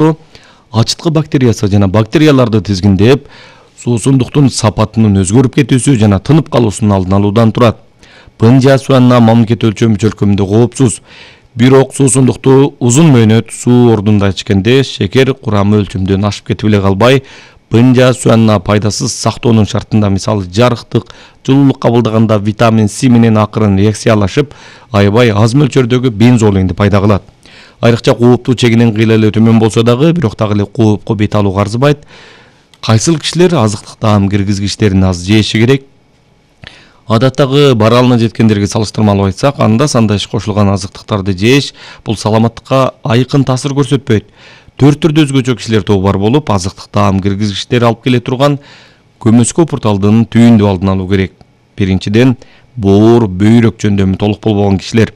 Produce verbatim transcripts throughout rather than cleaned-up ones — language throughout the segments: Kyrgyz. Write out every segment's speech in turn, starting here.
сыяктуу ачыткы бактериясы жана бактерияларды тизгиндеп, суусундуктун сапатынын өзгөрүп кетүүсү жана тынып калуусунун алдын алуудан турат. Пынжа суянна мамлекет өлчөмү чөлкөмүндө коопсуз. Бирок суусундукту узун мөөнөт суу ордунда ичкенде шекер курамы өлчөмдөн ашып кетип эле калбай, пынжа суянна пайдасыз сактоонун шартында мисалы жарыктык, жылуулук кабылдаганда витамин С менен акырын реакциялашып, аябай аз мөлчөрдөгү бензолинди пайда кылат. Айрыкча кооптуу чегинен кыйла эле төмөн болсо дагы, бирок дагы эле коопко бет алууга арзыбайт. Кайсыл кишилер азыктык таам киргизгичтерин аз жеши керек? Адаттагы баралына жеткендерге салыштырмалуу айтсак, анда санда иш кошулган азыктыктарды жеш бул саламаттыкка айкын таасир көрсөтпөйт. Төрт түрдүү өзгөчө кишилер тобу бар болуп, азыктык таам киргизгичтер алып келе турган көмөскө пурталдын түйүндү алдын алуу керек. Биринчиден, боор, бөйрөк жөндөмү толук болбогон кишилер.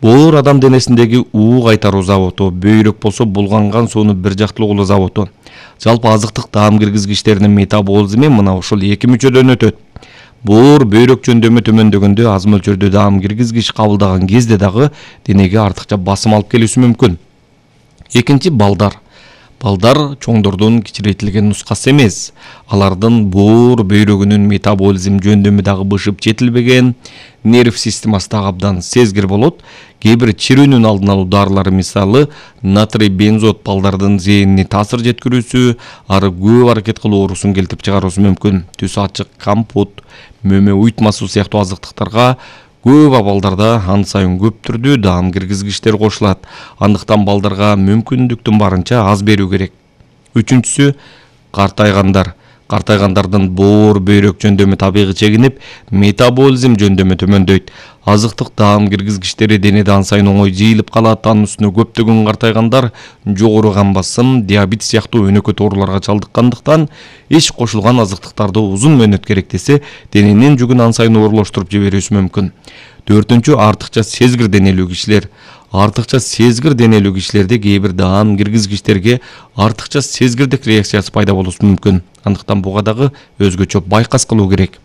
Боор адам денесиндеги уу кайтаруу заводу, бөйрөк болсо булганган сууну бир жактылуулуу заводу. Жалпы азыктык таам киргизгичтеринин метаболизми мына ушул эки мүчөдөн өтөт. Боор, бөйрөк жөндөмү төмөндөгөндө аз мөлчөрдө таам киргизгич кабылдаган кезде дагы денеге артыкча басым алып келүүсү мүмкүн. Экинчи, балдар. Балдар чоңдордун кичирейтилген нускасы эмес. Алардын боор, бөйрөгүнүн метаболизм жөндөмү дагы бышып жетилбеген, нерв системасы дагы абдан сезгир болот. Кээ бир чирүүнүн алдын алуу дарылары мисалы натрий бензот балдардын зээнине таасир жеткирүүсү, ары көп аракет кылуу оорусун келтирип чыгаруусу мүмкүн. Түсү ачык компот, мөмө уйтмасы сыяктуу азыктыктарга көп абалдарда ан сайын көп түрдүү таам киргизгичтер кошулат. Андыктан балдарга мүмкүндүктүн барынча аз берүү керек. Үчүнчүсү, картайгандар. Картайгандардын боор, бөйрөк жөндөмү табигый чегинип, метаболизм жөндөмү төмөндөйт. Азыктык таам киргизгичтери денеде ан сайын оңой жыйылып калат. Анын үстүнө көптөгөн картайгандар жогору кан басым, диабет сыяктуу өнөкөт ооруларга чалдыккандыктан иш кошулган азыктыктарды узун мөөнөт керектесе, дененин жүгүн ан сайын оорлоштуруп жиберүүсү мүмкүн. Төртүнчү, артыкча сезгир денелүү кишилер. Артыкча сезгир денелүү кишилерде кээ бир таам киргизгичтерге артыкча сезгирдик реакциясы пайда болуусу мүмкүн. Андыктан буга дагы өзгөчө байкас кылуу керек.